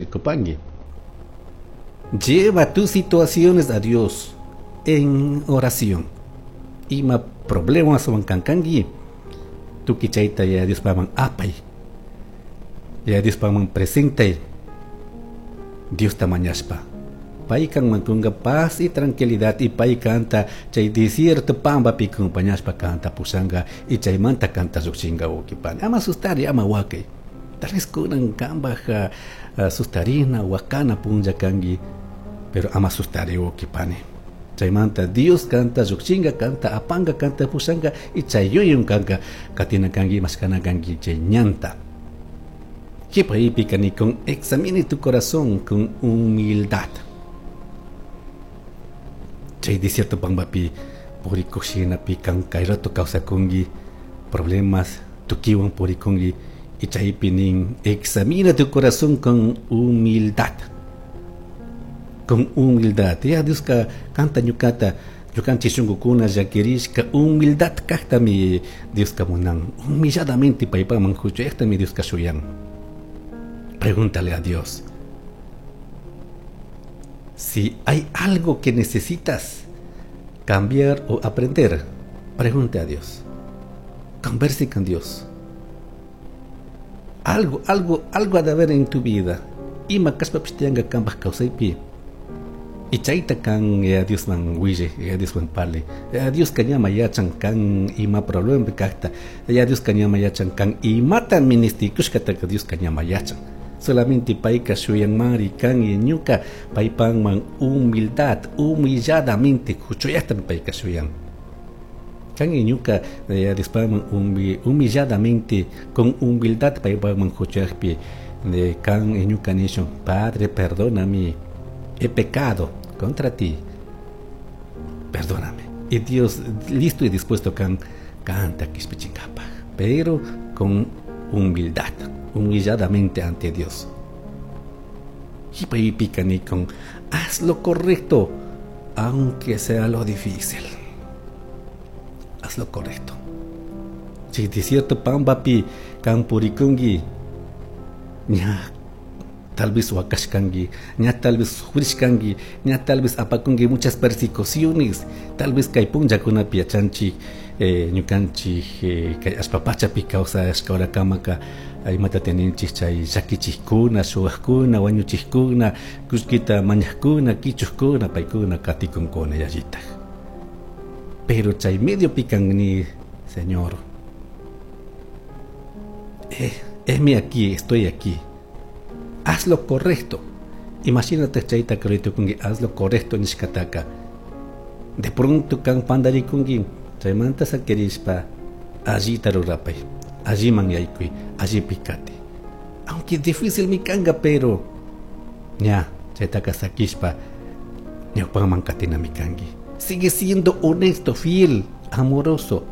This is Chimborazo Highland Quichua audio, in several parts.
Ricupangui. Lleva tus situaciones a Dios en oración. Ima problemas wan kankanki, tukuy chayta Yaya Diospajman apay. Yaya Diospajman presentay. Diosta mañashpa. Pay kanman kunga paz y tranquilidad y pay kanta chay desierto pambapi acompañashpa kanta pushanga y chaymanta kanta llujshinga, wawkipani. Ama sustari, ama wakay. Tal vez kunan kambaj sustarina, wakana punlla kanki, pero ama sustari, wawkipani. Chaymanta Dios kanta llujshinga, kanta apanga, kanta pushanga y chay yuyun kanka katina kanki, mashkana kanki chay ñanta. Kipa con examine tu corazón con humildad. Chay desierto pambapi purikushinapi kan kay rato kawsakunki problemas tukiwan purikunki y chaypi nin examina tu corazón con humildad. Con humildad. Ya Dioska kanta ñukata ñukanchik shunkukuna llakirishka humildad kajtami Dioska munan. Humilladamente paypaman huchayaqtami Dioska shuyan. Pregúntale a Dios si hay algo que necesitas cambiar o aprender. Pregunte a Dios. Converse con Dios. Algo, algo, algo ha de haber en tu vida. Ima kashpapish tiyanka kambaj kawsaypi. Y chayta kan Yaya Diosman wille, Yaya Diosman parle. Yaya Dioska ñama yachan kan ima problema kajta. Yaya Dioska ñama yachan kan imata ministikushkataka Dioska ñama yachan. Solamente payka shuyanmari kan y ñuka paypajman humildad, humilladamente huchuyajtami payka shuyan. Kan y ñuka Yaya Diospajman humilladamente, con humildad paypajman huchuyajpi de kan y ñuka nishun, Padre, perdóname, he pecado contra ti, perdóname. Y Dios listo y dispuesto kan kanta kishpichinkapaj, pero con humildad, humilladamente ante Dios. Con haz lo correcto, aunque sea lo difícil. Haz lo correcto. Si desierto pambapi kan purikunki, ña tal vez wakashkanki, ña tal vez sufrishkanki, ña tal vez apakunki muchas persecuciones, tal vez kay punllakunapi yachanchik, ñukanchik kay allpa pachapi kawsashka horakamaka imata teninchik chay llakichikkuna, shuwakuna, wañuchikkuna, kullkita mañajkuna, kichujkuna, paykuna katikunkuna yallitaj. Pero chay mediopi kan ni, Señor, heme aquí, estoy aquí. Haz lo correcto. Imagínate chayta kungi, haz lo correcto nishkataka. De pronto kan pandarikunki, chaymanta sakirishpa, allita rurapay, alliman yaykuy, allipi kati. Aunque difícil mi kanga, pero ña, chaytaka sakishpa, ñawpaman katina mi kanki. Sigue siendo honesto, fiel, amoroso.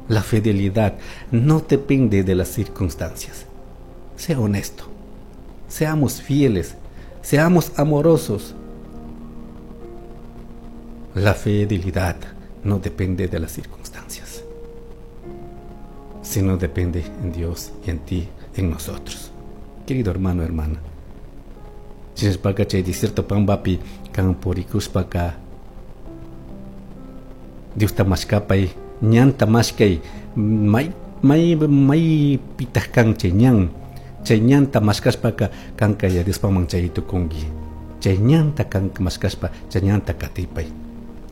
La fidelidad no depende de las circunstancias. Sea honesto, seamos fieles, seamos amorosos. La fidelidad no depende de las circunstancias, sino depende en Dios y en ti, en nosotros. Querido hermano, hermana, shinashpaka chay desierto pambapi kan purikushpaka Diosta mashkapay, ñanta mashkay, may may may pitaq kan chay ñan, chay ñanta mashkashpaka kanka Yaya Diospajman chay tukunki. Chay ñanta kanka mashkashpa, chay ñanta katipay.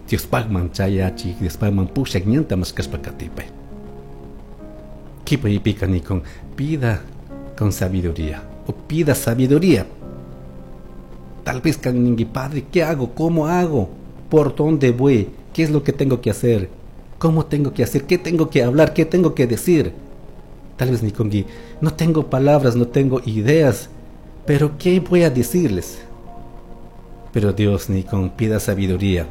Diospajman chayachi, Diospajman pushak ñanta mashkashpa katipay. Kipaypika nikun, pida con sabiduría, o pida sabiduría. Tal vez kan ninki, Padre, ¿qué hago? ¿Cómo hago? ¿Por dónde voy? ¿Qué es lo que tengo que hacer? ¿Cómo tengo que hacer? ¿Qué tengo que hablar? ¿Qué tengo que decir? Tal vez nikunki, no tengo palabras, no tengo ideas, pero ¿qué voy a decirles? Pero Dios nikun, pida sabiduría.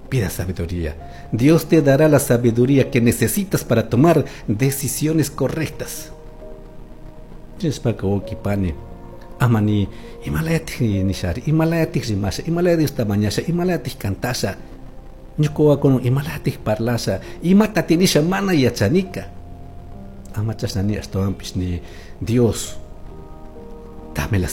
Pida sabiduría. Dios te dará la sabiduría que necesitas para tomar decisiones correctas. Chinshpaka wawkipani, amani imalayatik nishari, imalayatik rimasha, imalaya Diosta mañasha, imalayatik cantasha, ñuka wawakuna imalayatik parlasha, imata tinisha mana yachanika. Ama chashna ni ashtawanpish ni Dios, dame la